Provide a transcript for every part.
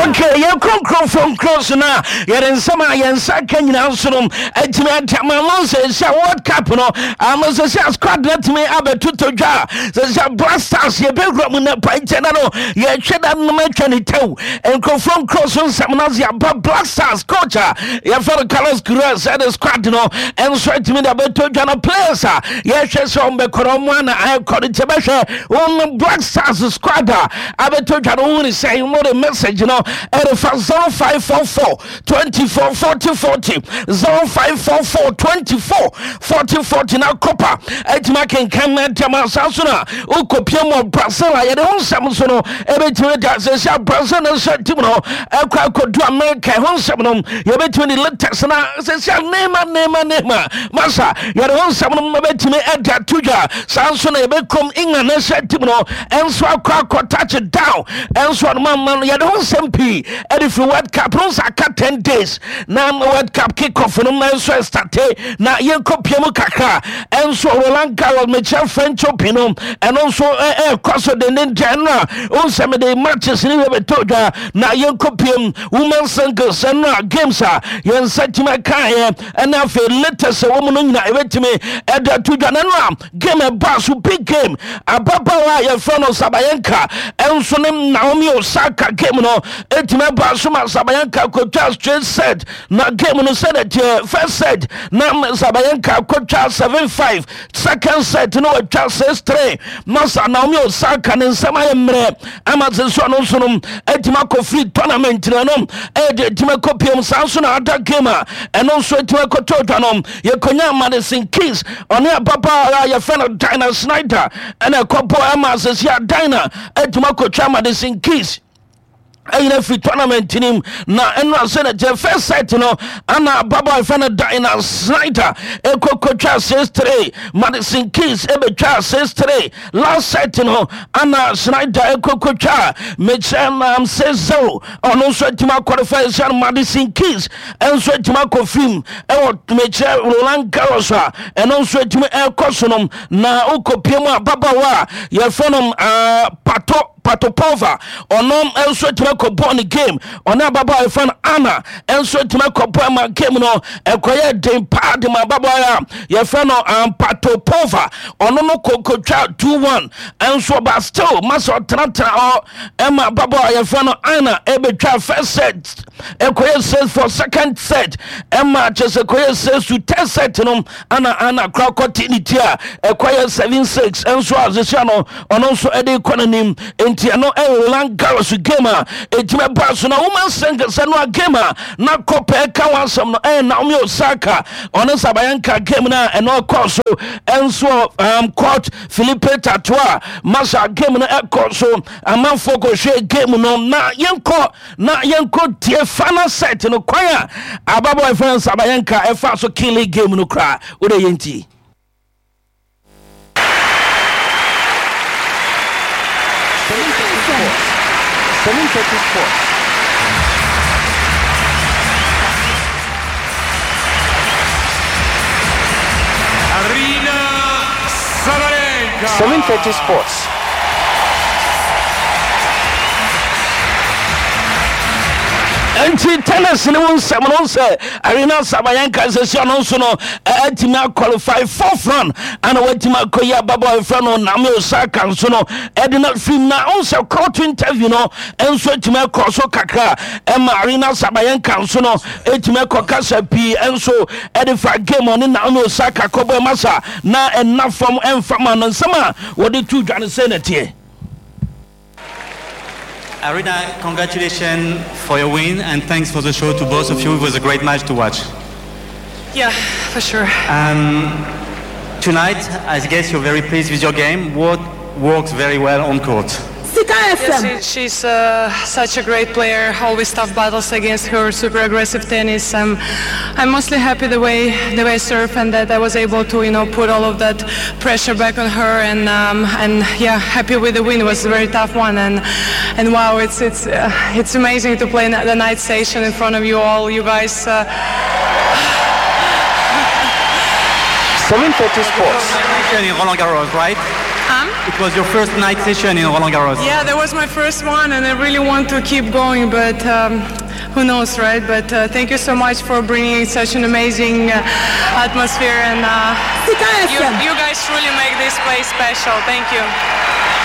Okay, yɛkɔ nkurɔfoɔ nkuro so no a yɛde nsɛm a yɛn nsa ka nyinaa nso no atumi ate ama mo sɛ sɛ World Cup no ama sɛ sɛ squad no atumi abɛtotɔ dwa sɛ sɛ Black Stars yɛbɛwura mu na pankyɛ da no yɛhwɛ da no atwa ne tɛw nkurɔfoɔ nkuro so nsɛm no ase aba Black Stars coach a yɛfrɛ no Carlos Queiroz ɛde squad no nso atumi de abɛtɔ dwa no players a yɛhwɛ sɛ ɔmbɛkɔ no ɔmo ana ɛkɔ no nti bɛhwɛ wɔn Black Stars squad a abɛtɔ dwa no wohunu sɛ mode message no ɛrefa 0544 24 40 40 0544 24 40 40 na kɔpa atumi akenkan na ntɛm a saa so no a wokɔpia mu Brazil a yɛde ho nsɛm nso no ɛbɛtumi da sɛ sɛ Brazil no nso tim no ɛkɔ akɔdu America ho nsɛm no yɛbɛtumi de latest na sɛ sɛ Neymar Neymar Neymar masa yɛde ho nsɛm no bɛtumi ɛde ato dwa saa nso na yɛbɛkɔm England no nso tim no ɛnso akɔ akɔ touch down ɛnso ɔno ma no yɛde ho nsɛm pii ɛde firi World Cup no nso aka 10 days na World Cup kick off no nso ɛstate na yɛnkɔ pia mu kakra ɛnso Roland Garros mekyerɛ French Open no ɛno nso ɛkɔ so denden dɛn no a onsɛ mede matches ne bɛbɛtɔ dwa na yɛnkɔ pia mu women singles ɛno a games a yɛn nsa tumi kaeɛ ɛne afei latest ɛwɔ mu no nyina ɛbɛtumi ɛde ato dwa na ɛno a game ɛbaa so big game ababaawa a yɛfrɛ no Sabayenka ɛnso ne Naomi Osaka game no ɛtumi ɛbaa so ma Sabayenka kɔtwa straight set na game no sɛdeɛ teɛ first set na Sabayenka kɔtwa 7-5 second set no watwa 6-3 masa Naomi Osaka ne nsɛm ayɛ mmerɛ ama sɛ so ɔno nso no atumi akɔ free tournament no ɛno ɛde atumi akɔ pm saa nso na ada game a ɛno nso atumi akɔtɔ dwa no yɛkɔnya Madison Keys ɔne ababaawa a yɛfrɛ no Dinah Snyder ɛna ɛkɔbɔ ɛma asɛsi a Dinah atumi akɔtwa Madison Keys ɛyina firi tournament no mu na ɛno asɛ na kyɛ first set no ana ababaawa yɛfrɛ no Dinah Snyder ɛkɔkɔtwa 6-3 Madison Keys ɛbɛtwa 6-3 Last set no ana Snyder ɛkɔkɔtwa mekyerɛ nam 6-0 ɔno nso atumi akɔrefa ɛsiane Madison Keys nso atumi akɔ fim ɛwɔ mekyerɛ Roland Garros a ɛno nso atumi ɛkɔ so no na wokɔpie mu ababaawa a yɛfrɛ no Pato Patopova ɔno nso atumi akɔbɔ ne game ɔne ababaawa yɛfrɛ no Anna nso atumi akɔbɔ ama game no ɛkɔyɛ den paa de ma ababaawa a yɛfrɛ no Patopova ɔno no kɔkɔtwa 2-1 nso ɔba still masa ɔtenatena hɔ ɛma ababaawa yɛfrɛ no Anna ɛbɛtwa first set ɛkɔyɛ 6 for second set ɛma kyɛ sɛ kɔyɛ 6 to 10 set no ana ana kora kɔte ne ti a ɛkɔyɛ 7-6 nso a sesia no ɔno nso ɛde kɔ n'anim nti ɛno ɛyɛ Roland Garros game a ɛtumi ɛba so na woman singles ɛno a game a na kɔpɛ ka ho asɛm no ɛyɛ Naomi Osaka ɔne Sabalenka game no a ɛno ɛkɔ so ɛnso court Philippe Tatoa masa game no ɛkɔ so amanfoɔ kɔhwɛ game no na yɛnkɔ na yɛnkɔ tie final set no kwan a ababɔ ɛfɛn Sabalenka ɛfa so kili game no koraa wode yɛntie. 730 Sports. Aryna Sabalenka. 730 Sports. Nti tennis ne wo nsɛm no sɛ Aryna Sabalenka sɛsi ɔno nso no atumi aqualify fourth round ana watumi akɔyi ababɔ ɛfrɛ no Naomi Osaka nso no ɛde no afiri na wo sɛ court interview no nso atumi akɔ so kakra ɛma Aryna Sabalenka nso no atumi akɔ kasa pii nso ɛde fa game ɔne Naomi Osaka kɔbɔ ɛma sa na ɛna fam ɛmfa ma no nsɛm a wɔde to dwa no sɛ nɛteɛ. Aryna, congratulations for your win and thanks for the show to both of you. It was a great match to watch. Yeah, for sure. Tonight, I guess you're very pleased with your game. What works very well on court? Sika FM. Yes, she's such a great player. Always tough battles against her, super aggressive tennis. I'm mostly happy the way I serve and that I was able to put all of that pressure back on her and yeah, happy with the win. It was a very tough one and wow, it's amazing to play the night session in front of you all, you guys. 730 Sports. In Roland Garros, right? It was your first night session in Roland Garros. Yeah, that was my first one, and I really want to keep going, but who knows, right? But thank you so much for bringing such an amazing atmosphere, and you, you guys truly make this place special. Thank you.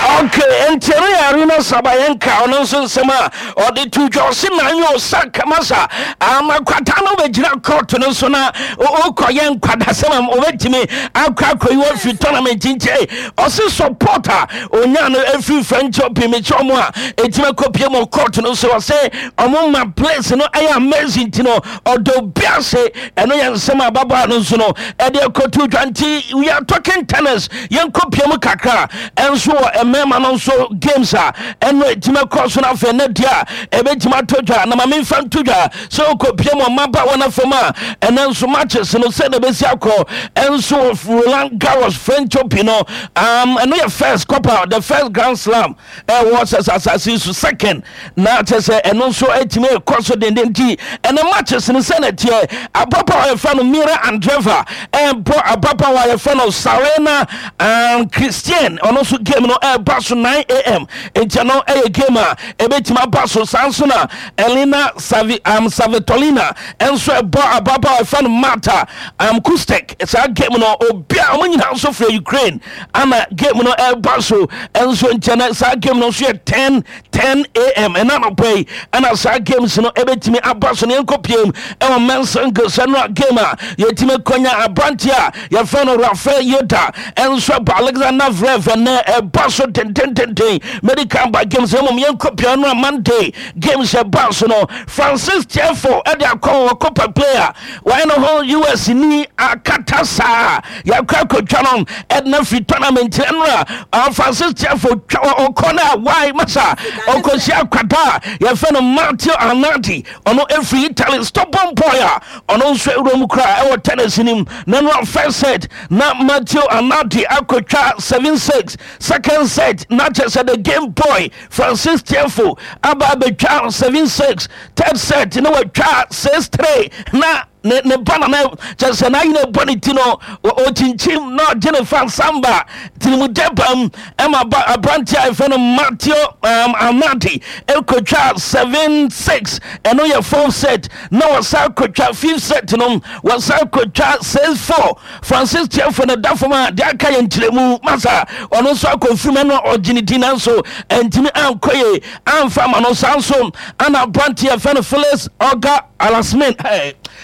Okay, nti ɛno yɛ Arina Sabalenka ɔno nso nsɛm a ɔde to dwa ɔse na anyɛ ɔsa kamasa ama kwata no bɛgyina court no so na wokɔyɛ nkwadasɛm a wɔbɛtumi akɔ akɔyi wɔ afiri tournament nkyɛ ɔse support a ɔnya no ɛfiri French Open mekyɛ ɔmo a ɛtumi akɔpie mu court no so ɔse ɔmo ma place no ɛyɛ amazing nti no ɔdɔ obi ase ɛno yɛ nsɛm a ababaa no nso no ɛde akɔto dwa nti we are talking tennis yɛnkɔpie mu kakra ɛnso wɔ mmarima no nso games a ɛno ɛtumi akɔ so no afei ne deɛ a ɛbɛtumi atɔ dwa na ma memfa nto dwa sɛ wokɔpie mu mmabaawa no afam a ɛnɛ nso matches no sɛ na ɛbɛsi akɔ ɛnso wɔ Roland Garros French Open no ɛno yɛ first Copa the first Grand Slam ɛwɔ sɛ asase so second na kyɛ sɛ ɛno nso atumi ɛkɔ so denden nti ɛnɛ matches no sɛ na ɛteɛ ababaawa a yɛfrɛ no Mira Andreeva ɛbɔ ababaawa a yɛfrɛ no Sarena Christian ɔno nso game no ɛba so 9 am nti ɛno ɛyɛ game a ɛbɛtumi aba so saa nso na Elina Svitolina ɛnso ɛbɔ ababaawa a yɛfrɛ no Marta Kostyuk saa game no obia ɔmo nyinaa nso firi Ukraine ana game no ɛba so ɛnso nkyɛn na saa game no nso yɛ 10 10 am ɛna anɔpa yi ɛna saa games no ɛbɛtumi aba so ne yɛnkɔ piem ɛwɔ men's singles ɛno a game a yɛtumi kɔnya aberanteɛ a yɛfrɛ no Rafael Nadal ɛnso ɛbɔ Alexander Zverev ɛnɛ ɛba so dendendenden medical ba games mmom yɛnkɔ piem no a Monday games ɛba so no Francis Tiafoe ɛde akɔ wɔ Copa player wɔyɛ no ho US ni akata saa yɛakɔ akɔtwa no ɛdena firi tournament ɛno a Francis Tiafoe twa ɔkɔ no a wae masa ɔkɔhyia akwada a yɛfrɛ no Matteo Arnaldi ɔno ɛfiri Italy stubborn boy a ɔno nso awura mu koraa ɛwɔ tennis nim na no a first set na Matteo Arnaldi akɔtwa 7-6 second set na kyerɛ sɛ the game boy Francis Tiafoe aba abɛtwa 7-6 third set na watwa 6-3 na ne ba na na kyerɛ sɛ n'ayi na ɛbɔ ne ti no ɔkyinkyim na ɔgye ne fa samba tirimudɛ bam ɛma ba aberante a yɛfrɛ no Matteo Arnaldi ɛkɔtwa 7-6 ɛno yɛ fourth set na wɔsan kɔtwa fifth set no wɔsan kɔtwa 6-4 Francis Tiafoe no da fam a deɛ aka yɛ nkyerɛmu masa ɔno nso akɔmfirim ɛno ɔgye ne din nanso ɛntumi ankɔ yie amfa ama no saa nso ana aberante a yɛfrɛ no Felix Auger Aliassime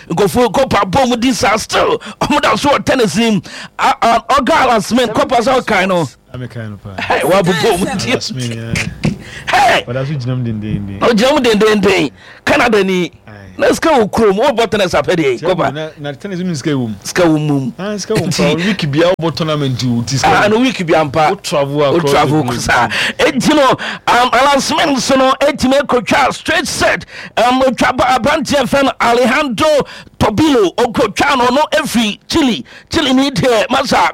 nkɔfo kɔpa bɔ mu di saa still ɔmo da so wɔ tennis nim Auger Aliassime kɔpa sɛ ɔkan no wabobɔ mu di ɔgyina mu dendenden Canada ni na sika wɔ kurom wobɔ tennis apɛ deɛ kɔpa na tennis mu sika wɔ mu sika wɔ mu ah sika wɔ mu pa week bia wobɔ tournament o ti sika ah no week bia mpa wo travel across wo travel saa enti no Aliassime nso no etimi akotwa straight set otwa aberanteɛ fɛn no Alejandro Tabilo okotwa no no efiri Chile Chile ni deɛ masa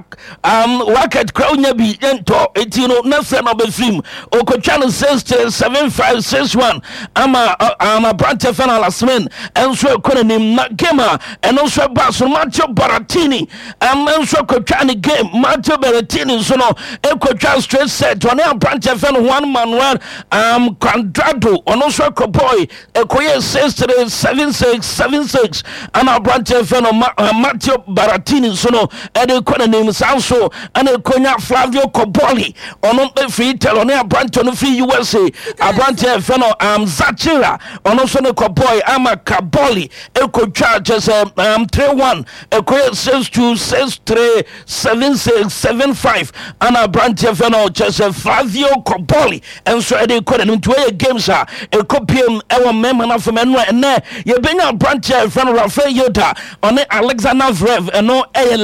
racket kura wonya bi ntɔ eti no na fɛ no ɔbɛfiri mu okotwa no 6 3 7 5 6 1 ama aberanteɛ fɛn no Aliassime nso ɛkɔ n'anim na game a ɛno nso ɛba so Matteo Berrettini nso akotwa ne game Matteo Berrettini nso no ɛkotwa straight set ɔne aberanteɛ fɛn no Juan Manuel Cuadrado ɔno nso akɔ boy ɛkɔyɛ 6 3 7 6 7 6 ana aberanteɛ fɛ no Matteo Berrettini nso no ɛde kɔ n'anim saa nso ɛna ɛkɔnya Flavio Cobolli ɔno firi Italy ɔne aberanteɛ no firi USA aberanteɛ fɛ no Zachira ɔno nso ne kɔ boy ama Cobolli ɛkɔtwa kyɛ sɛ 3 1 ɛkɔyɛ 6 2 6 3 7 6 7 5 ana aberanteɛ fɛ no kyɛ sɛ Flavio Cobolli nso ɛde kɔ n'anim nti wɔyɛ games a ɛkɔ piem ɛwɔ mmarima no afam ɛno a ɛnɛ yɛbɛnya aberanteɛ a yɛfrɛ no Rafael Nadal ɔne Alexander Zverev ɛno ɛyɛ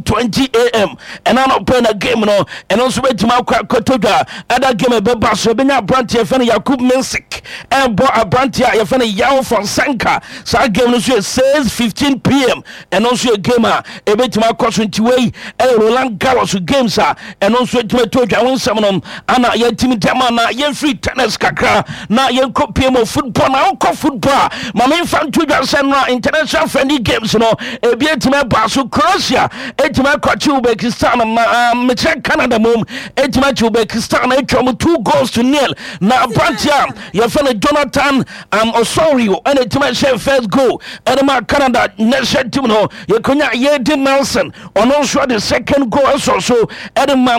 11:20 am ɛna anɔpɛ na game no ɛno nso bɛtumi akɔ akɔtɔ dwa ɛda game ɛbɛba so yɛbɛnya aberanteɛ yɛfrɛ no Jakub Mensik ɛbɔ aberanteɛ a yɛfrɛ no Joao Fonseca saa game no nso yɛ 6:15 pm ɛno nso yɛ game a ɛbɛtumi akɔ so nti wei ɛyɛ Roland Garros games a ɛno nso ɛtumi ato dwa ho nsɛm no ana yɛtumi dɛm a na yɛmfiri tennis kakra na yɛnkɔ pie mu football na wokɔ football a ma memfa nto dwa sɛ no a international International friendly games no ebi atumi aba so. Croatia atumi akɔkye Uzbekistan ma mekyerɛ Canada mom atumi akye Uzbekistan atwa mu 2 goals to 0. Na aberanteɛ a yɛfɛ no Jonathan Osorio ɛna atumi ahyɛ first goal ɛde ma Canada national team no. Yɛkonya Yedi Nelson, ɔno nso de second goal ɛsɔ so ɛde ma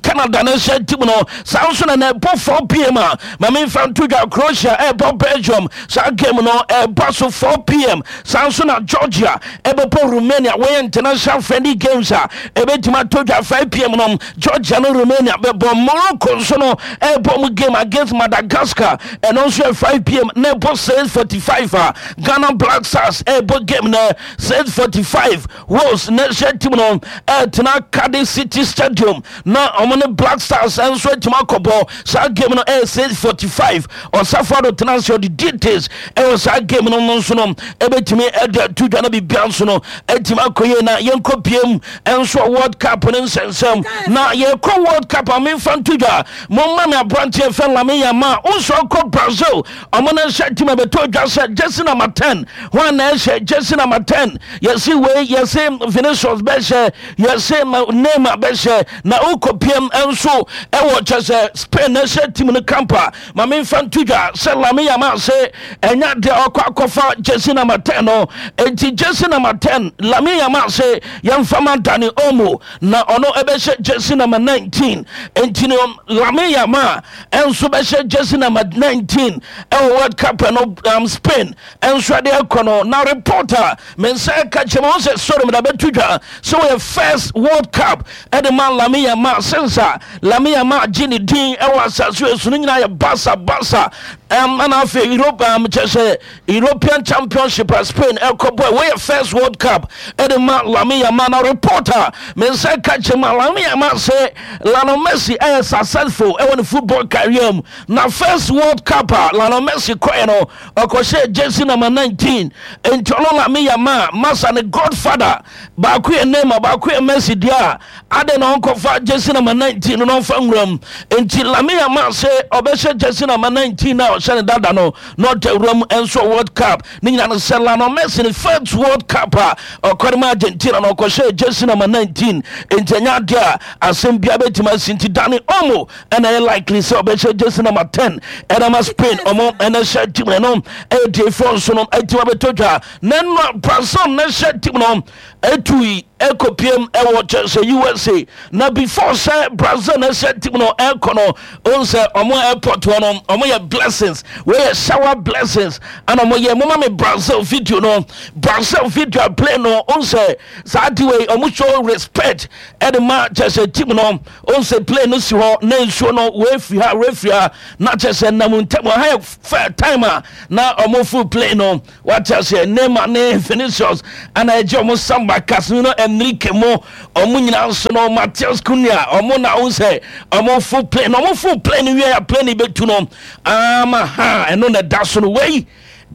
Canada national team no. Saa nso na ɛbɔ 4 p.m. a, ma memfa nto dwa, Croatia ɛbɔ Belgium. Saa game no ɛba so 4 p.m. Saa nso na Georgia ɛbɛbɔ Romania. Wɔyɛ international friendly games a ɛbɛtumi atɔ dwa 5 p.m. no, Georgia no Romania bɛbɔ. Morocco nso no ɛbɔ mu game against Madagascar, ɛno nso yɛ 5 p.m. Na ɛbɔ 6:45 a, Ghana Black Stars ɛbɔ game no 6:45. Wales national team no ɛtena Cardiff City Stadium na ɔmo ne Black Stars nso atumi akɔbɔ. Saa game no ɛyɛ 6:45. Ɔsafo ado tena ase, ɔde details ɛwɔ saa game no nso no ɛbɛtumi ɛde ato dwa na biribia nso no ɛtumi akɔ yie. Na yɛnkɔ piem nso World Cup no nsɛnsɛm. Na yɛkɔ World Cup a, memfa nto dwa, momma me aberanteɛ fɛ Lamine Yamal nso akɔ Brazil. Ɔmo no nhyɛ team a bɛtɔ dwa sɛ jersey number 10, hwan na ɛhyɛ jersey number 10? Yɛse wei, yɛse Vinicius bɛhyɛ, yɛse Neymar bɛhyɛ. Na wokɔ piem nso ɛwɔ kyɛ sɛ Spain na ɛhyɛ team no camp a, ma memfa nto dwa sɛ Lamine Yamal sɛ ɛnya deɛ ɔkɔ akɔfa jersey number 10 no. Enti jersey number 10, Lamine Yamal sɛ yɛmfa ma Dani Olmo na ɔno ɛbɛhyɛ jersey number 19. Enti no Lamine Yamal ɛnso bɛhyɛ jersey number 19 ɛwɔ World Cup no Spain ɛnso ɛde ɛkɔ no. Na reporter me nsa ɛka kyerɛ mu sɛ sɔre mu da bɛto dwa sɛ wɔyɛ first World Cup ɛde ma Lamine Yamal since a Lamine Yamal gye ne din ɛwɔ asase esu no nyinaa yɛ Barca Barca ɛna afei Europe kyɛ sɛ European Championship a Spain ɛkɔ bɔ. Wɔyɛ first World Cup ɛde ma Lamine Yamal. Na reporter me nsa ɛka kyerɛ mu a, Lamine Yamal sɛ Lionel Messi ɛyɛ successful ɛwɔ ne football career mu. Na first World Cup a Lionel Messi kɔɛ no, ɔkɔhyɛ jersey number 19. Nti ɔno Lamine Yamal masa ne godfather baako yɛ Neymar, baako yɛ Messi deɛ a, ade na ɔnkɔfa jersey number 19 no na ɔmfa nwura mu. Nti Lamine Yamal sɛ ɔbɛhyɛ jersey number 19 na ɔhyɛ ne dada no na ɔda wura mu nso World Cup ne nyina no sɛ Lionel Messi ne first World Cup a ɔkɔre ma Argentina na ɔkɔhyɛ jersey number 19. Nti ɛnyɛ adeɛ a asɛm bia bɛtumi asi. Nti Dani Olmo ɛna ɛyɛ likely sɛ ɔbɛhyɛ jersey number 10 ɛna ma Spain ɔmo ɛna hyɛ team no. Ɛyɛ deefoɔ nso no ɛtumi abɛtɔ dwa na ɛnora Brazil na hyɛ team no ɛtui ɛkɔpiem ɛwɔ kyɛ sɛ USA. Na before sɛ Brazil na ɛhyɛ team no ɛkɔ no, ɔn sɛ ɔmo airport hɔ no, ɔmo yɛ blessings, wɔyɛ shower blessings ɛna ɔmo yɛ. Moma me Brazil video no, Brazil video a play no. Ɔn sɛ saa de wei ɔmo show respect ɛde ma kyɛ sɛ team no. Ɔn sɛ plane no si hɔ na nsuo no wɔafiri ha, wɔafiri ha, na kyɛ sɛ nam ntam ha yɛ fɛ time a na ɔmo full plane no. Wate aseɛ? Neymar ne Vinicius ana ɛgye ɔmo samba, Casemiro, Enrique mo ɔmo nyinaa nso no, Matheus Cunha, ɔmo na ɔmo sɛ ɔmo full plane. Ɔmo full plane wie a, plane bɛtu no ama ha. Ɛno na ɛda so no, wei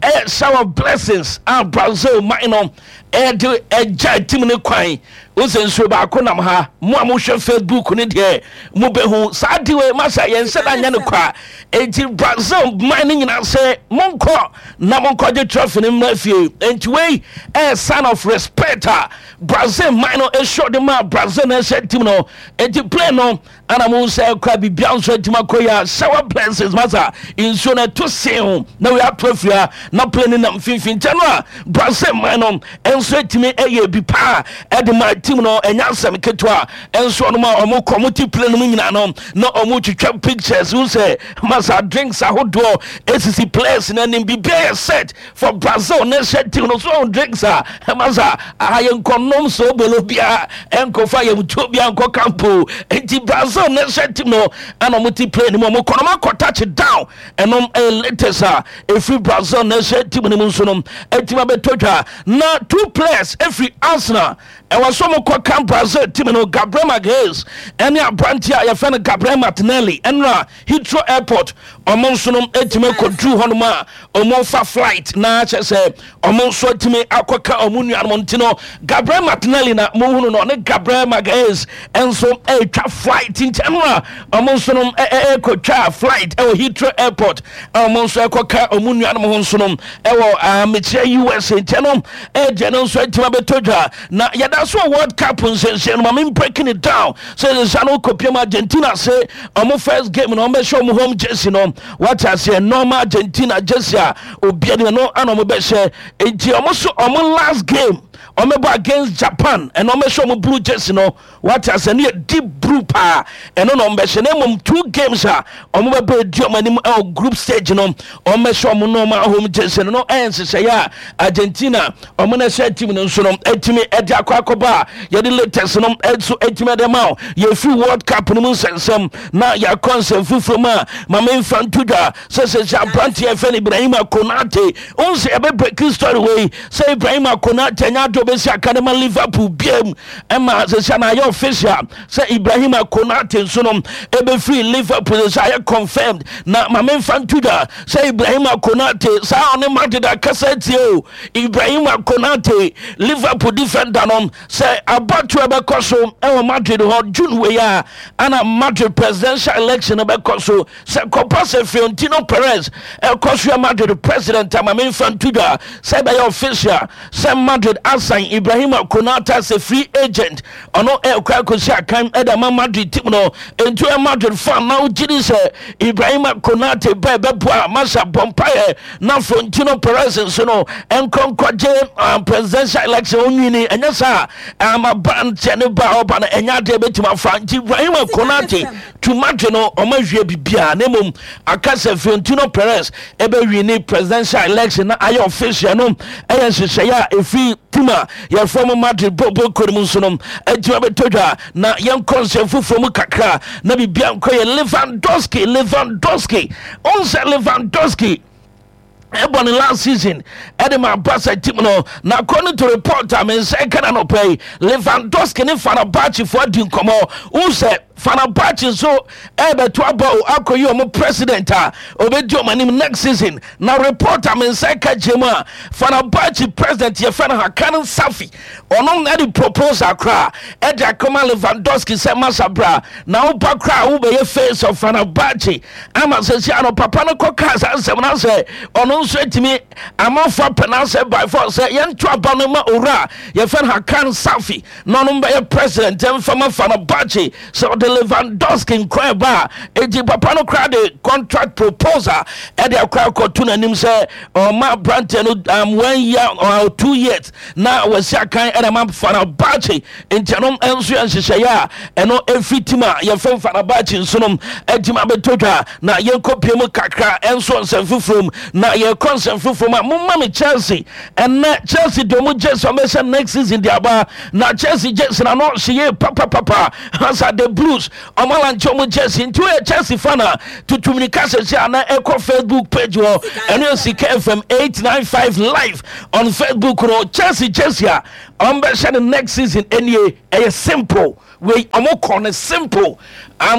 ɛyɛ shower of blessings a Brazil man no ɛde ɛgya team ne kwan. Wosɛ nsuo baako nam ha. Mo a mohwɛ Facebook ne deɛ, mobɛhu saa de wei. Masa yɛn nhyɛ da nyɛ no kwa. Enti Brazil man no nyinaa sɛ monkɔ na monkɔgye trophy no mmra fie. Enti wei ɛyɛ sign of respect a Brazil man no ɛhyɛ de ma Brazil na ɛhyɛ team no. Enti plane no ana mo sɛ kora biribia nso atumi akɔ yi a, shower blessings masa nsuo no ɛto sen na wei ato afiri ha na plane no nam mfimfini nkyɛn no a, Brazil man no nso atumi ɛyɛ bi paa ɛde ma team no. Ɛnyɛ asɛm ketewa nso. Ɔnom a ɔmo kɔ, ɔmo te plane no mu nyinaa no na ɔmo twitwa pictures wo sɛ masa drinks ahodoɔ esisi players no anim, biribiara yɛ set for Brazil ne hyɛ team no so. Ɔmo drinks a masa aha yɛ nkɔnom so bolo biara ɛnkɔfa yɛm tuo biara nkɔ campo. Nti Brazil ne hyɛ team no ɛna ɔmo te plane mu, ɔmo kɔ no, ɔmo akɔ touch down. Ɛnom ɛyɛ latest a ɛfiri Brazil na ɛhyɛ team no mu nso no ɛtumi abɛtɔ dwa. Na two players ɛfiri Arsenal ɛwɔ so ɔmo kɔ camp Brazil team no, Gabriel Magalhaes ɛne aberante a yɛfrɛ no Gabriel Martinelli. Ɛnora Heathrow Airport. Ɔmo nso no atumi akɔduru hɔnom a ɔmo fa flight na kyɛ sɛ ɔmo nso atumi akɔka ɔmo nuanom. Nti no Gabriel Martinelli na mohunu no, ɔne Gabriel Magalhaes nso ɛretwa flight. Nti ɛno a ɔmo nso no ɛrekɔtwa flight ɛwɔ Heathrow Airport a ɔmo nso ɛkɔka ɔmo nuanom ho nso no ɛwɔ mekyerɛ USA. Nti ɛno ɛdeɛ no nso atumi abɛtɔ dwa. Na yɛda so wɔ World Cup nsɛnsɛn no, ma me breaking it down sɛ sɛ no kɔpiem Argentina se ɔmo first game no ɔmo bɛhyɛ ɔmo home jersey no, wate aseɛ, normal Argentina jersey a obiara ni no ana ɔmo bɛhyɛ. Nti ɔmo so ɔmo last game ɔmo bɔ against Japan, ɛna ɔmo bɛhyɛ ɔmo blue jersey no, wate aseɛ, no yɛ deep blue paa, ɛno na ɔmo bɛhyɛ. Na mmom two games a ɔmo bɛbɔ edi ɔmo anim ɛwɔ group stage no, ɔmo bɛhyɛ ɔmo normal home jersey no. Ɛyɛ nhyehyɛeɛ a Argentina ɔmo na ɛhyɛ team no nso no ɛtumi ɛde akɔ akɔba a yɛde latest no ɛnso ɛtumi ɛde ma o. Yɛfiri World Cup no mu nsɛnsɛm na yɛakɔ nsɛm foforɔ mu a, ma memfa nto dwa sɛ aberanteɛ yɛfrɛ no Ibrahima Konate wohu sɛ yɛbɛ breaking story wei sɛ Ibrahima Konate anya ade obɛsi aka no ma Liverpool biam, ɛma sɛ na ayɛ official sɛ Ibrahima Konate nso no ɛbɛfiri Liverpool, sɛ ayɛ confirmed. Na ma memfa nto dwa sɛ Ibrahima Konate saa ɔne Madrid akasa tie o. Ibrahima Konate, Liverpool defender no, sɛ abatoɔ bɛkɔ so ɛwɔ Madrid hɔ June wei a ana Madrid presidential election no bɛkɔ so, sɛ kɔpa sɛ Florentino Perez ɛkɔ so yɛ Madrid president, ama memfa nto dwa sɛ ɛbɛyɛ official sɛ Madrid asan Ibrahima Konate sɛ free agent, ɔno ɛkɔ akɔsi akan ɛde ama Madrid team no. Nti ɛ Madrid fan na wogye di sɛ Ibrahima Konate bɛɛ bɛboa masa bɔ mpaeɛ na Florentino Perez nso no ɛnkɔ nkɔgye presidential election onwini. Ɛnyɛ saa ama ba nkyɛ ne ba ɔba no ɛnyɛ adeɛ bɛtumi afa. Nti Ibrahima Konate to Madrid no, ɔma hwie biribiaa, na mmom aka sɛ Florentino Perez ɛbɛwini presidential election na ayɛ official no. Ɛyɛ nhyehyɛeɛ a ɛfiri team a yɛfrɛ mo Madrid bɔbɔ kɔ no mu nso no agyina bɛtɔ dwa. Na yɛnkɔ nsɛm foforɔ mu kakra na biribia nkɔ yɛ Lewandowski. Lewandowski ɔn sɛ Lewandowski ɛbɔ ne last season ɛde ma Barca team no, na according to report a me nsa ka na nɔpɛ yi, Lewandowski ne Fenerbahce foɔ adi nkɔmmɔ. Wohu sɛ Fenerbahce nso ɛbɛto aba o akɔyi ɔmo president a ɔbɛdi ɔmo anim next season. Na report a me nsa ka kyerɛ mu a, Fenerbahce president yɛfrɛ no Hakan Safi, ɔno ɛde proposal koraa ɛde akɔma Lewandowski sɛ masa bra na woba koraa wobɛyɛ face of Fenerbahce. Ama sɛsi ano papa no kɔ kaa saa nsɛm no sɛ ɔno nso atumi amanfo apɛ n'asɛ by force sɛ yɛnto aba no ma owura yɛfɛ no Hakan Safi na ɔno bɛyɛ president mfama Fenerbahce sɛ ɔde Lewandowski nkɔ ɛba a. Enti papa no koraa de contract proposal ɛde akɔ akɔto n'anim sɛ ɔma aberanteɛ no one year or 2 years na wasi akan ɛna ma Fenerbahce. Nti ɛno nso yɛ nhyehyɛeɛ a ɛno ɛfiri team a yɛfrɛ Fenerbahce nso no agyima bɛtɔ dwa. Na yɛnkɔ pie mu kakra ɛnso nsɛm foforɔ mu. Na yɛkɔ nsɛm foforɔ mu a, momma me Chelsea. Ɛnɛ Chelsea de ɔmo jersey ɔmo bɛhyɛ next season de aba, na Chelsea jersey na no hye yie papapapa hasa. The Blues ɔmo alaunch ɔmo jersey. Nti woyɛ Chelsea fan a, tutu mirika sɛsɛ ana ɛkɔ Facebook page hɔ, ɛno yɛ Sika FM 895 live on Facebook no. Chelsea jersey a ɔmo bɛhyɛ no next season ɛnie. Ɛyɛ simple wei, ɔmo kɔ no simple.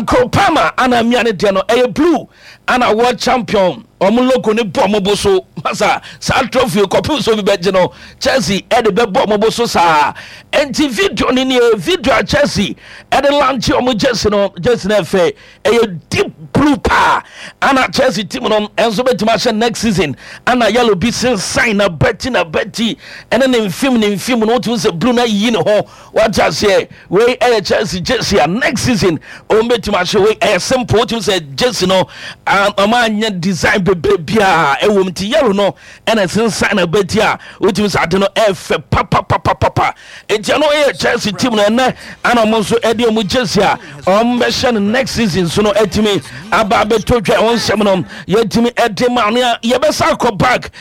Cole Palmer ana mmea ne deɛ no ɛyɛ blue, ana world champion ɔmo logo ne bɔ ɔmo bo so. Masa saa trophy kɔpem so bi bɛgye no, Chelsea ɛde bɛbɔ ɔmo bo so saa. Nti video no nie, video a Chelsea ɛde launch ɔmo jersey no. Jersey no ɛfɛ, ɛyɛ deep blue paa, ana Chelsea team no ɛnso bɛtumi ahyɛ next season, ana yellow bi sensan na bɛti na bɛti ɛne ne mfim ne mfim no, wotumi sɛ blue na yiyi ne ho, wate aseɛ. Wei ɛyɛ Chelsea jersey a next season ɔmo bɛtumi ahyɛ. Wei ɛyɛ simple, wotumi sɛ jersey no ɔmo anyɛ design bebree biara ɛwɔ mu. Nti yellow no ɛna sensan na bɛti a wotumi sɛ ade no ɛfɛ papapapapa. Nti ɛno ɛyɛ Chelsea team no. Ɛnɛ ana ɔmo nso ɛde ɔmo jersey a ɔmo bɛhyɛ no next season so no ɛtumi aba abɛtɔ dwa. Ɛwɔ nsɛm no yɛtumi ɛde ma no a, yɛbɛsa akɔ back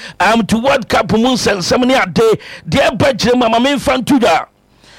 to World Cup mu nsɛnsɛm ne ade deɛ ɛba kyerɛ mu ama memfa nto dwa.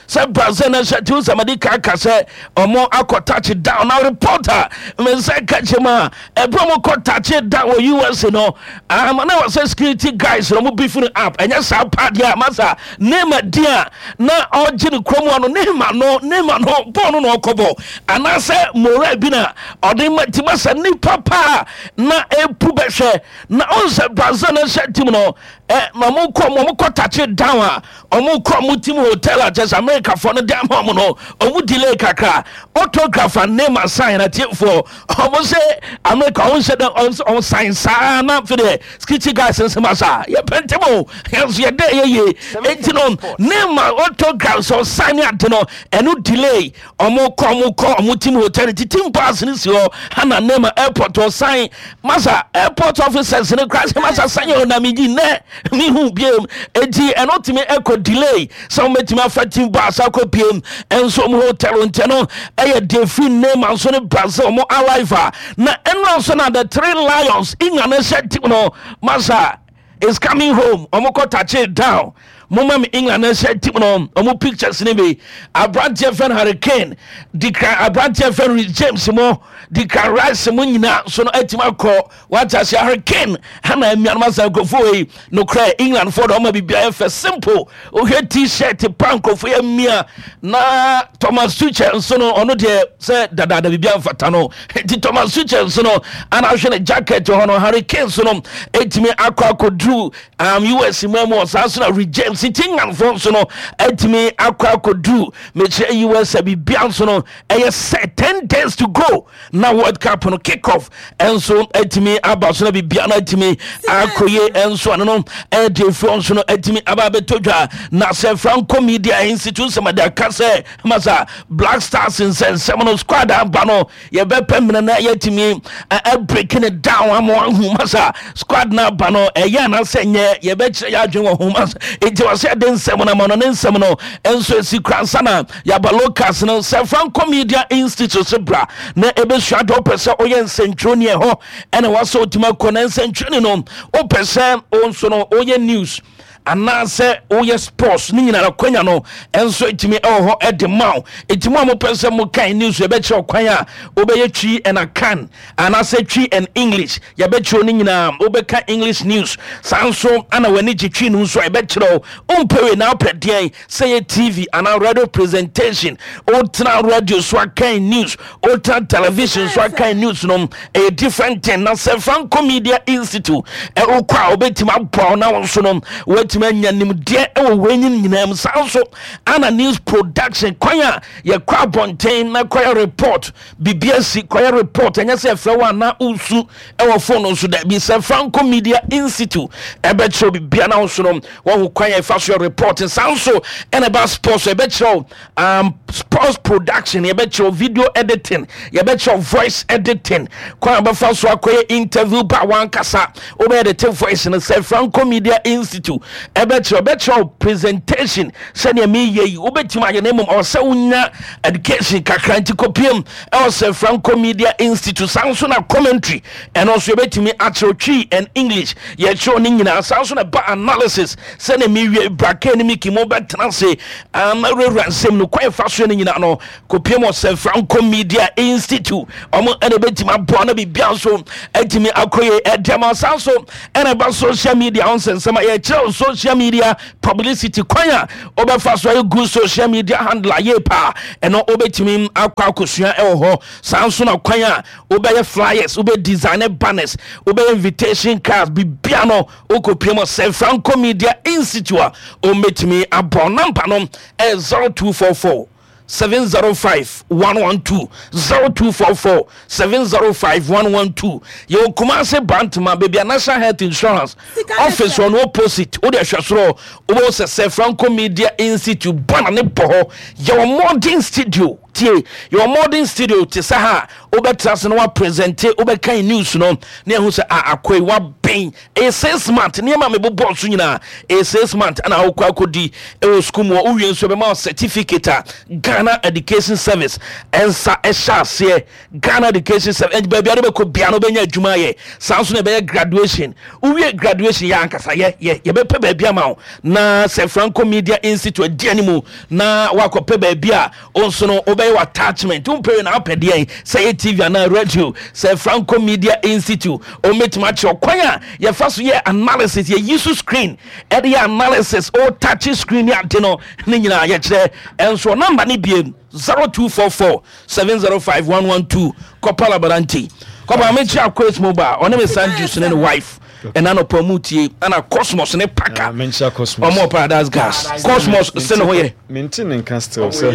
Sɛ Brazil no hyɛ tiw sɛ mede ka ka sɛ ɔmo akɔ touch down na reporter me nsa ka kyerɛ mu a ɛberɛ ɔmo kɔ touch down wɔ US no ama na wɔ sɛ security guys no ɔmo beef no up ɛnyɛ saa paa deɛ a masa Neymar di a na ɔgye ne kurom hɔ no Neymar no Neymar no bɔɔl no na ɔkɔbɔ anaasɛ Moura bi na ɔde ma ti masa nipa paa na epu bɛhwɛ na ɔnsɛ Brazil no hyɛ team no ɛ ma mo kɔ mo kɔ touch down a Ɔmo kɔ ɔmo team hotel a kyɛsɛ Americafoɔ no de ama ɔmo no, ɔmo delay kakra. Autograph a Neymar sign atiefoɔ, ɔmo se America ɔmo nhyɛ dɛ ɔmo sign saa na afei deɛ security guys nse ma saa yɛpɛ ntɛm o, yɛn nso yɛdɛ yɛ yie. Enti no Neymar autograph sɛ ɔsign ne ade no ɛno delay. Ɔmo kɔ ɔmo kɔ ɔmo team hotel nti team bus no si hɔ ana Neymar airport ɔsign masa airport officers no kora sɛ masa sign o na megye nnɛ mehu biem enti ɛno tumi ɛkɔ delay sɛ wɔbɛtumi afa team bus akɔ piem ɛnso ɔmo hotel nti no ɛyɛ defi Neymar nso ne Brazil ɔmo arrival na ɛno nso na the three lions England hyɛ team no masa is coming home ɔmo kɔ touch down moma me England hyɛ team no ɔmo pictures ne bi aberanteɛ fɛn Harry Kane Declan aberanteɛ fɛn Reece James mo Declan Rice mo nyinaa nso no atumi akɔ Wate ase Harry Kane hana anuanom asa nkurɔfoɔ wei nokorɛ England foɔ de ɔma biribiara yɛ fɛ simple wohwɛ t-shirt pa nkurɔfoɔ yɛ mmia na Thomas Tuchel nso no ɔno deɛ sɛ dadaada biribiara mfata no nti Thomas Tuchel nso no ana ahwɛ ne jacket hɔ no Harry Kane nso no ɛtumi akɔ akɔduru um, US mu mu ɔsaa nso na Reece James nti England foɔ nso no ɛtumi akɔ akɔduru mekyerɛ US biribiara nso no ɛyɛ sɛ 10 days to go na world cup no kick off nso atumi aba so na biribiara no atumi akɔye nso ɛno no ɛde afuo nso no atumi aba abɛtɔ dwa na sɛ franco media institute sɛm de aka sɛ masa black stars nsɛnsɛm no squad aba no yɛbɛpɛ mmerɛ na yɛatumi break it down ama ahu masa squad no aba no ɛyɛ anaasɛ nyɛ yɛbɛkyerɛ yɛ adwene wɔ ho masa nti wɔ sɛ ɛde nsɛm no ama no ne nsɛm no nso ɛsi kora nsa na Yaba Locals no sɛ Franco Media Institute so bra na ɛbɛsua deɛ wopɛ sɛ woyɛ nsɛntwerɛni ɛhɔ ɛna wasɛ wotumi akɔ na nsɛntwerɛni no wopɛ sɛ wo nso no woyɛ news anaasɛ woyɛ sports ne nyinara kwanya no ɛnso ɛtumi ɛwɔ hɔ ɛde ma wo ɛti mu a mopɛ sɛ mokan news yɛbɛkyerɛ kwan a wobɛyɛ Twi and Akan anaasɛ Twi and English yɛbɛkyerɛ no nyinaa wobɛka English news saa nso ana w'ani gye Twi no nso a yɛbɛkyerɛ wo wompɛ wei na wopɛ deɛn Sɛ yɛ TV anaa radio presentation, wotena radio so akan news, wotena television so akan news no, ɛyɛ different thing. Na sɛ Franco Media Institute wokɔ a wobɛtumi aboa wo na wo nso no woatumi anya nimdeɛ wɔ wei nyinaa mu. Saa nso ana news production kwan a yɛkɔ abɔnten na kɔyɛ report, biribi asi kɔyɛ report, ɛnyɛ sɛ ɛfrɛ wo anaa wosu ɛwɔ phone no so daabi. Sɛ Franco Media Institute ɛbɛkyerɛ biribi na wo nso no wɔhu kwan a ɛfa so yɛ report. Saa nso ɛna ɛba sports yɛbɛkyerɛ wo sports production, yɛbɛkyerɛ wo video editing, yɛbɛkyerɛ wo voice editing, kwan a bɛfa so akɔyɛ interview ba wankasa wobɛyɛ de te voice no. Sɛ Franco Media Institute ɛbɛkyerɛ ɛbɛkyerɛ wo presentation sɛdeɛ meyɛ yi wobɛtumi ayɛ, na mmom ɔwɔ sɛ wonya education kakra nti kɔpiem ɛwɔ sɛ Franco Media Institute. Saa nso na commentary ɛno nso yɛbɛtumi akyerɛw Twi and English, yɛkyerɛw ne nyinaa. Saa nso na ɛba analysis sɛdeɛ mewie brake ne miki mo bɛtena ase awurawura nsɛm no kwan fa so no nyinaa no kɔpiem wɔ sɛ Franco Media Institute, ɔmo ɛna ɛbɛtumi aboa na biribia nso atumi akɔyɛ ɛde ama. Saa nso ɛna ɛba social media ho nsɛnsɛm a yɛkyerɛw social media publicity, kwan a wobɛfa so ayɛ good social media handler yie paa, ɛno wobɛtumi akɔ akɔsua ɛwɔ hɔ. Saa nso na kwan a wobɛyɛ flyers, wobɛ design banners, wobɛyɛ invitation cards, bibia no wokɔpie mu sɛ Franco Media Institute a ɔmmɛtumi abɔ. Number no ɛyɛ 0244 705 112, 0244 705 112. Yɛwɔ Kumase Bantama, baabi a National Health Insurance office wɔ no opposite. Wode ahwɛ soro wobɛhu sɛ Franco Media Institute bana ne bɔ hɔ. Yɛwɔ modern studio. Tie, yɛwɔ modern studio te sɛ ha a wobɛtra ase na woapresente, wobɛkan news no na yɛahu sɛ a akoa yi waben. Ɛyɛ 6 month, nneɛma a mebobɔɔ so nyinaa ɛyɛ 6 month ɛna wokɔ akɔdi ɛwɔ sukuu mu hɔ. Wowie nso ɛbɛma wo certificate a Ghana Education Service ɛnsa ɛhyɛ aseɛ. Ghana Education Service ɛnti baabi a wode bɛkɔ bia no wobɛnya adwuma ayɛ. Saa nso na ɛbɛyɛ graduation. Wowie graduation yɛ ankasa yɛ yɛ yɛbɛpɛ baabi ama wo na sɛ Franco Media Institute adi animu na woakɔpɛ baabi a wo nso no wobɛyɛ w'attachment. Wompɛ wei na wopɛ deɛn? Sɛ ɛyɛ TV anaa radio, sɛ Franco Media Institute wɔbɛtumi akyerɛ kwan a yɛfa so yɛ analysis, yɛyi so screen ɛde yɛ analysis, o touch screen ne ade no ne nyinaa yɛkyerɛ. Ɛnso namba ne biem 0244 705 112. Kɔpa Labaranti kɔpa mekyia Kwes Mobile, ɔne me son Juice ne ne wife ɛna nɔpa mu tie, ɛna Cosmos ne Paka. Menkyia Cosmos. Ɔmo Paradise Gas Cosmos se ne ho yɛ. Mente ne nka still sɛ.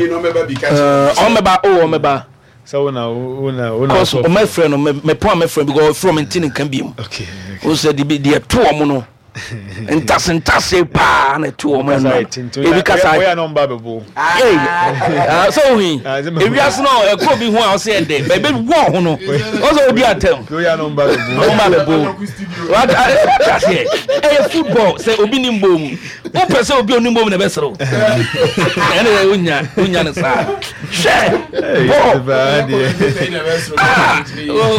Ɔmmɛba o, ɔmmɛba. Sɛ wo na wo na wo na. Cos ɔmɛfrɛ no mɛpɔn a mɛfrɛ no because ɔfrɛ ɔmo nti ne nka biem. Okay. O sɛ de bi deɛ to ɔmo no ntase ntase paa na ɛto ɔmo ɛno ebi kasa. Oya na ɔmba bɛbo. Ee sɛ ohin ewiase no ɛkɔ obi ho a ɔsɛ ɛdɛ bɛbɛ wɔ ho no ɔsɛ odi atɛm. Oya na ɔmba bɛbo. Ɔmba bɛbo. Wata aseɛ ɛyɛ football sɛ obi ni mbɔ mu wopɛ sɛ obi onim bɔ mu na ɛbɛsere wo ɛne yɛ wonya wonya no saa hwɛ bɔɔl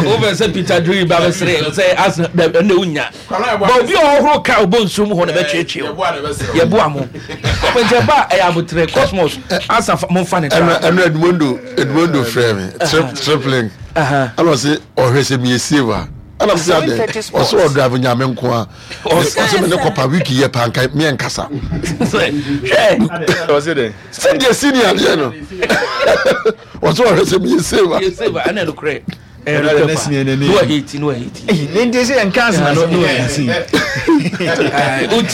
wopɛ sɛ Peter Drury ba bɛsere sɛ Arsenal ɛne wonya ba obi a ɔhoro ka ɔbɔ nsuo mu hɔ na bɛtweetwee wo yɛboa mo nti ɛba ɛyɛ aboterɛ Cosmos asa momfa ne tra. Ɛno Edmundo frɛ me tripling ɛna ɔse ɔhwɛ sɛ meyɛ save a ɛna mese adɛn ɔse ɔdrive Nyame nko a ɔse me ne kɔpa week yɛ pa nka meɛ nkasa sɛdeɛ senior adeɛ no ɔse ɔhwɛ sɛ meyɛ save a. Ɛna nokorɛ. Oti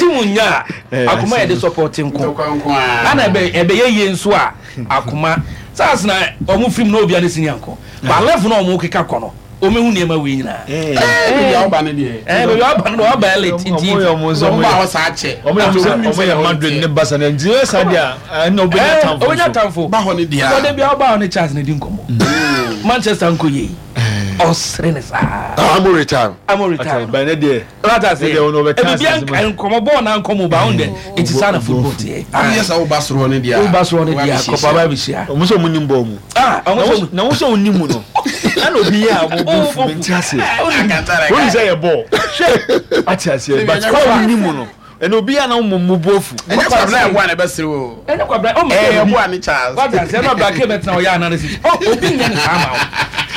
mu nya a akoma yɛde support nko ana ɛbɛyɛ yie nso a akoma saa na ɔmo firim na obia ne senior nko ba level na ɔmo keka kɔ no ɔmo ehu nneɛma wei nyinaa. Baabi a ɔba no deɛ. Baabi a ɔba no deɛ ɔba elite nti. Ɔmo yɛ ɔmo nso ɔmo ba hɔ saa kyɛ. Ɔmo yɛ ɔmo yɛ Madrid ne Barca ne nti yɛ saa deɛ ɛna ɔbɛnya tamfo. Ɔbɛnya tamfo. Ba hɔ ne deɛ. Sɔde bi a ɔba hɔ ne Charles ne di nkɔmɔ. Manchester nko yie. Ɔsere ne saa. Amo retire. Amo retire. Ba ne deɛ. Wata se. Ebi bi nkɔmɔ bɔɔl na nkɔmɔ ba ɔn dɛ eti saa na football teɛ. Awo yɛ sɛ ɔba soro hɔ ne deɛ. Ɔba soro hɔ ne deɛ kɔpa ba bi hyia. Ɔmo sɛ ɔmo nim bɔɔl mu. Ah, ɔmo sɛ na wo sɛ ɔnim mu no ɛna obi yɛ a wɔbɔ fu mi nti aseɛ wɔn sɛ yɛ bɔɔl ate aseɛ but kɔ a wɔnim mu no ɛna obi yɛ a na wɔn mu bɔ fu. Ɛnyɛ kwabena ɛboa na ɛbɛsere o. Ɛnyɛ kwabena ɔmo sɛ ɛboa ne Charles. Wate aseɛ ɛna ɔbra kee bɛtena ɔyɛ analysis ɔ obi nyɛ ne saa ma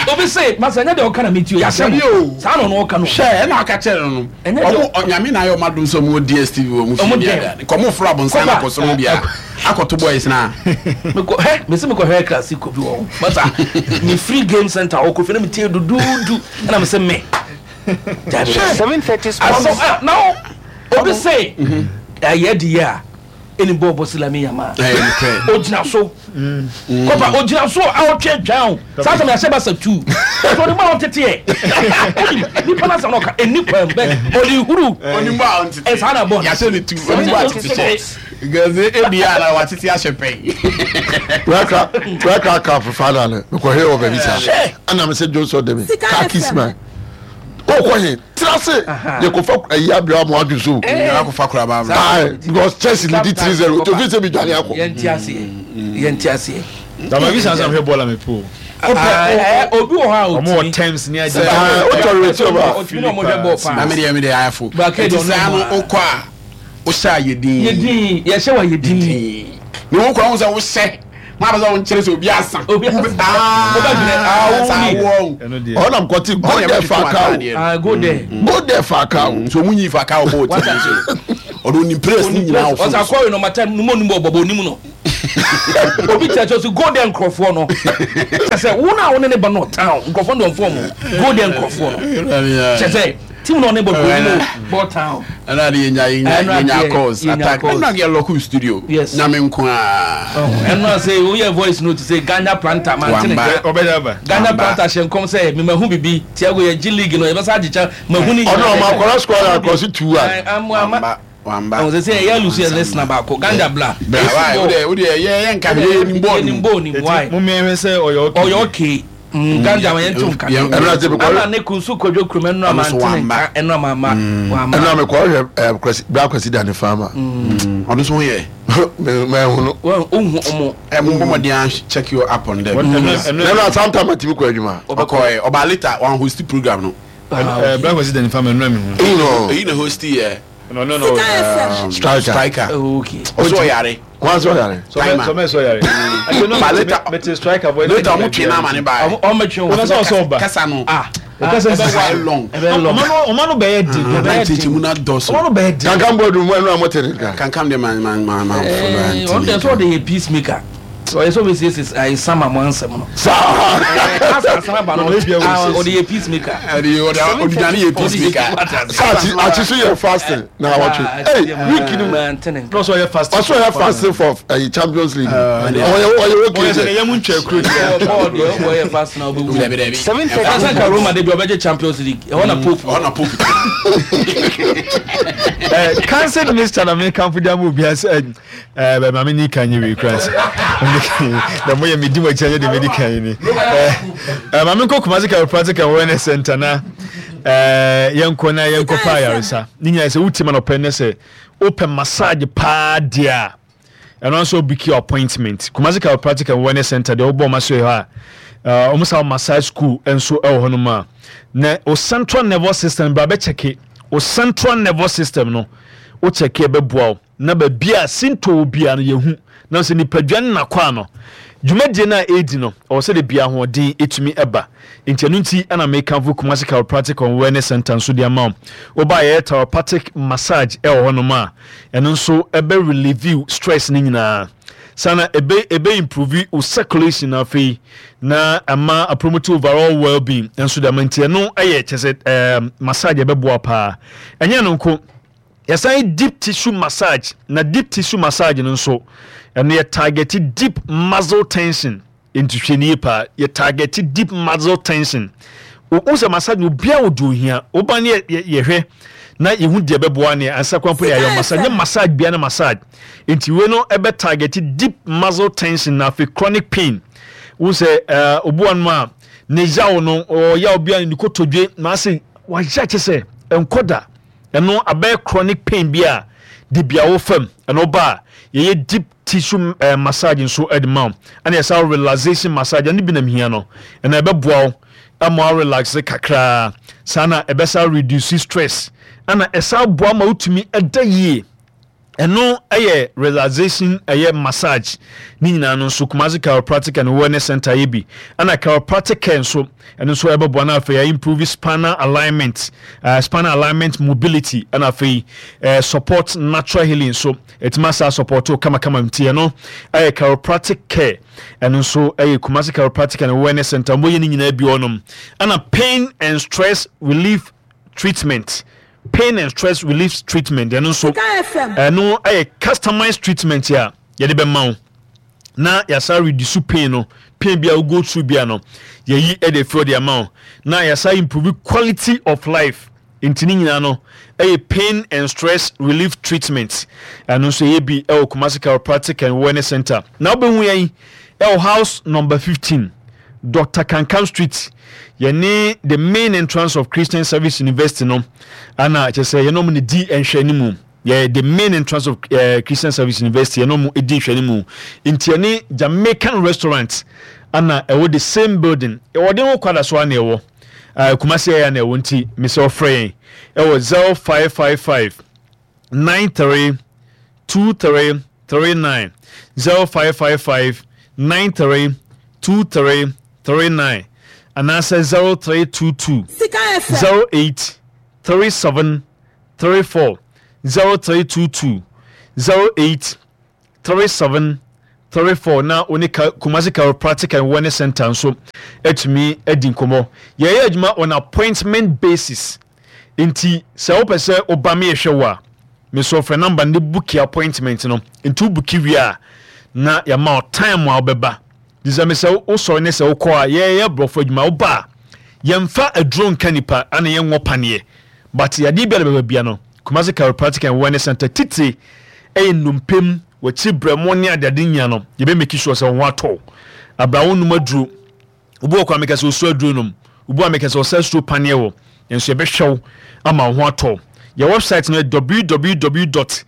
wo obi se masa ɛnyɛ deɛ ɔka na metie o yɛahyɛ mo saa na ɔno ɔka no. Hwɛ ɛna ɔka kyerɛ no no ɔmo Onyame na ayɛ ɔmo adom sɛ ɔmo wɔ DSTV wɔ ɔmo fie ne ade ade nka ɔmo foro abonsan no akɔ soro no bia akɔto boys no a. Mekɔ hɛ mese mekɔ hwɛ classico bi wɔ hɔ masa me free game center hɔ kɔ fie na metie duduudu ɛna mese me dabi asɛm ah na obi se ɛyɛ de yɛ a ɛni bɔɔl bɔ silami yama ogyina so kɔpa ogyina so a ɔtwe atwa o saa sɛ yɛahyɛ basa tu so ɔde mu a ɔntete ɛ ɔde nipa no asɛm na ɔka ɛni kwan bɛ ɔde huru ɛsaa na bɔɔl yɛahyɛ ne tu ɔde mu a ɔtete hyɛ gɛze ebi a na watete ahyɛ pɛn. Wɛkra cup final no mekɔhwɛ wɔ baabi saa ɛna mesɛ Johnson de me car kiss man wokɔ he tena se yɛkɔfa ayi abrɛ ama wadwo so akɔfa koraba abrɛ because Chelsea lead 3-0 nti ofi sɛ medwane akɔ. Yɛnte aseɛ yɛnte aseɛ. Dama bi sansan hwɛ bɔɔl a mepɛ o. Obi wɔ hɔ a otumi. Ɔmo wɔ terms ni agye. Wotɔ reti ɔba. Otumi na ɔmo hwɛ bɔɔl paa. Na mi deɛ mi deɛ ayɛfo. Nti saa no okɔ a wohyɛ a yɛ din. Yɛ din yɛhyɛ wa yɛ din. Ne wo kura wo sɛ wohyɛ maa bɛ sɛ wɔn kyerɛ sɛ obi asa. Obi asa. Wobɛdwene awo ni. Ɔnam kɔte go there Falcao. Ah go there. Go there Falcao. So ɔmo nyi Falcao bɔ ɔti bi so. Ɔno onim players ni nyinaa wɔ fon. Ɔsɛ akɔre no mata numu onim bɔ bɔbɔ onim no. Obi kyerɛ kyerɛ so go there nkurɔfoɔ no. Kyerɛ sɛ wo na wo ne ne ba no town nkurɔfoɔ no dɔnfoɔ mu go there nkurɔfoɔ no. Kyerɛ sɛ team na ɔne bɔ bɔ onim bɔ town. Ɛna de yɛnya yɛnya yɛnya calls attack ɛna yɛ lɔku studio. Yes. Nyame nko aa. Ɛno ase woyɛ voice note sɛ Ganya planta mantene. Ɔbɛda aba. Ganya planta hyɛ nkɔm sɛ memahu bibi Tiago yɛ gye league no yɛbɛsa agye kyɛ mahu ne nyinaa. Ɔno ɔmo akɔla squad akɔsi 2-1. Ama. Wamba. Ɛwɔ sɛ sɛ yɛ lusu yɛ listener baako ganja bla. Bra why wo de wo de yɛ yɛ nka yɛ nim bɔɔl nim bɔɔl nim why. Mo mi ɛhwɛ sɛ ɔyɛ okay. Ɔyɛ okay. Ganja ma yɛn ti nka. Ɛnura ti mi kɔ. Ɛna ne kunsu kojo kurom ɛnura ma ntene nka ɛnura ma ma. Ɛnura mi kɔ ɔhwɛ ɛ kwasi bra kwasi da ne fa ma. Ɔno so ho yɛ. Mɛ mɛ hunu. Wɔn ohun ɔmo. Ɛ mo bɔ mɔden check you up on them. Ɛnura sometime a ti mi kɔ adwuma. Ɔkɔ ɛ ɔba later wɔn host program no. Bra kwasi da ne fa ma ɛnura mi hu. Eyi na host yɛ. No, no, no. Striker. Striker. Oh, okay. Ɔsɔ ɔyare. Wọn sọ yare. Timer. Sọmẹ sọ yare. Ba later. Mete striker boy. Later ɔmo twe n'ama ne ba. Ɔmo twe wɔn. Ɔmo sọ ɔba. Kasa no. Ah. Kasa no. Ɛbɛ long. Ɛbɛ long. Ɔmo no bɛyɛ di. Ɛbɛ di. Kyekye mu na dɔ so. Ɔmo no bɛyɛ di. Kankan bɔ dum ɛnu a mo te ne kan. Kankan de man man man man. Ɛɛ ɔno de sɛ ɔde yɛ peacemaker. Ɔyɛ sɛ ɔbɛsiesie ayi sama mo ansɛm no. Saa. Asa asana ba no ɔde yɛ peacemaker. Ɔde ɔde ɔdudane yɛ peacemaker. Saa akyi akyi so yɛ fasting na awɔtwe. Ee week ni mu. Ɔsɔ yɛ fasting. Ɔsɔ yɛ fasting for ɛyi Champions League. Ɔyɛ ɔyɛ okay sɛ. Ɔyɛ mu ntwa kuro. Bɔɔl deɛ ɔyɛ fasting na ɔbɛ wu. 7:30. Ɛsɛ ka Roma de bi ɔbɛgye Champions League. Ɛhɔ na Pope. Ɛhɔ na Pope. Ɛɛ council minister na mi kanfo di ama obi ase. Eh, bɛ maame ni kan nye wei kura sɛ na mo yɛ medi mo akyi anyɛ de medi kan yi ni eh, eh, maame nkɔ Kumasi Chiropractic and Wellness Center na eh, yɛnkɔ na yɛnkɔ pa ayaresa ne nyinaa sɛ wotie ma nɔpɛ ne sɛ wopɛ massage paa deɛ a ɛno nso wobiki appointment Kumasi Chiropractic and Wellness Center deɛ wobɔ ɔma so yɛ hɔ a wɔn sa massage school nso wɔ hɔnom a na o central nervous system bra bɛkyɛke o central nervous system no wokyɛke ɛbɛboa wo na baabi a sintɔ wɔ biara no yɛhu, na sɛ nipadua no n'akwaa no, dwumadie no a ɛredi no, ɛwɔ sɛ da biara ahoɔden ɛtumi ba. Nti ɛno nti na mekamfo Kumasi Chiropractic and Wellness Center nso de ama wo. Woba a yɛyɛ chiropractic massage ɛwɔ hɔnom a, ɛno nso ɛbɛ relieve stress no nyinaa. Saa na ɛbɛ ɛbɛ improve wo circulation na afei na ama apromote overall well-being nso de ama. Nti ɛno ɛyɛ kyɛ sɛ ɛɛ massage ɛbɛboa paa. Ɛnyɛ ɛno nko. Yɛsan yɛ deep tissue massage, na deep tissue massage no nso, ɛno yɛ target deep muscle tension. Nti hwɛ nie paa, yɛ target deep muscle tension. Wohu sɛ massage no obiara wɔ deɛ ohia. Woba ne yɛhwɛ na yɛhu deɛ ɛbɛboa ne ansa kwan po ne yɛayɛ massage. Nyɛ massage biara ne massage. Nti wei no ɛbɛ target deep muscle tension na afei chronic pain. Wohu sɛ ɛɛ obi wɔ nom a ne yaw no ɔyaw bi a ne kotodwe na ase wayɛ kyɛ sɛ ɛnkɔ da. Ɛno abɛyɛ chronic pain bi a debia wo fam. Ɛno ba a, yɛyɛ deep tissue eh, massage nso de ma wo. Ɛna yɛsa relaxation massage, ɛno bi na mehia no. Ɛna ɛbɛboa wo ama wo relax kakraa. Saa na ɛbɛsa reduce stress. Ɛna ɛsa boa ma wotumi ɛda yie. Ɛno yɛ relaxation ɛyɛ massage ne nyinaa no nso Kumasi Chiropractic and Wellness Center yɛ bi ɛna chiropractic care nso ɛno nso ɛbɛboa na afei improve spinal alignment uh, spinal alignment mobility ɛna afei uh, support natural healing nso ɛtumi asa support kamakama nti ɛno ɛyɛ chiropractic care ɛno nso ɛyɛ Kumasi Chiropractic and Wellness Center wɔyɛ ne nyinaa bi wɔnom ɛna pain and stress relief treatment pain and stress relief treatment ɛno nso ɛno ɛyɛ customized treatment a yɛde bɛma wo na yɛasa reduce pain no pain bi a wo go through bi a no yɛyi ɛde fi ɔde ama wo na yɛasa improve quality of life nti ne nyinaa no ɛyɛ pain and stress relief treatment ɛno nso ɛyɛ bi ɛwɔ Kumasi Chiropractic and Wellness Center na wobɛhu yɛn ɛwɔ house number 15 Doctor Kankam Street, yɛne the main entrance of Christian Service University no, ana kyerɛ sɛ yɛne wɔn na di nhwɛanimu. Yɛ the main entrance of uh, Christian Service University, yɛne wɔn di nhwɛanimu. Nti yɛne Jamaican restaurant ana ɛwɔ the same building. Ɛwɔ den ho kwada so ana ɛwɔ. Uh, Kumasi ɛyɛ ana ɛwɔ nti mesɛ ɔfrɛ yɛn ɛwɔ 0555 93 23 39 0555 93 23 39 anaasɛ 0322 08 37 34 0322 08 37 34 na wo ne Kumasi Chiropractic and Wellness Center nso atumi adi nkɔmmɔ. Yɛyɛ adwuma on appointment basis. Nti sɛ wopɛ sɛ woba me yɛhwɛ wo a, mesɛ ɔfrɛ number no buki appointment no. Nti wo buki wie a, na yɛama wo time a wobɛba. Nti sɛ mesɛ wosɔre ne sɛ wokɔ a, yɛyɛ borɔfo adwuma. Woba a, yɛmfa aduro nka nipa ana yɛnwɔ paneɛ. But yadeɛ biara bɛba bia no, Kumasi Chiropractic and Wellness Center titire ɛyɛ nnompe mu, w'akyiri brɛmo ne adeade nyina no, yɛbɛ make sure sɛ wo ho atɔ wo. Abra wo nom aduro. Obi wɔ kɔ a meka sɛ ɔsu aduro nom, obi wɔ a meka sɛ ɔsɛ suro paneɛ wɔ, nanso yɛbɛhwɛ wo ama wo ho atɔ wo. Yɛ website no yɛ www.kcwcg.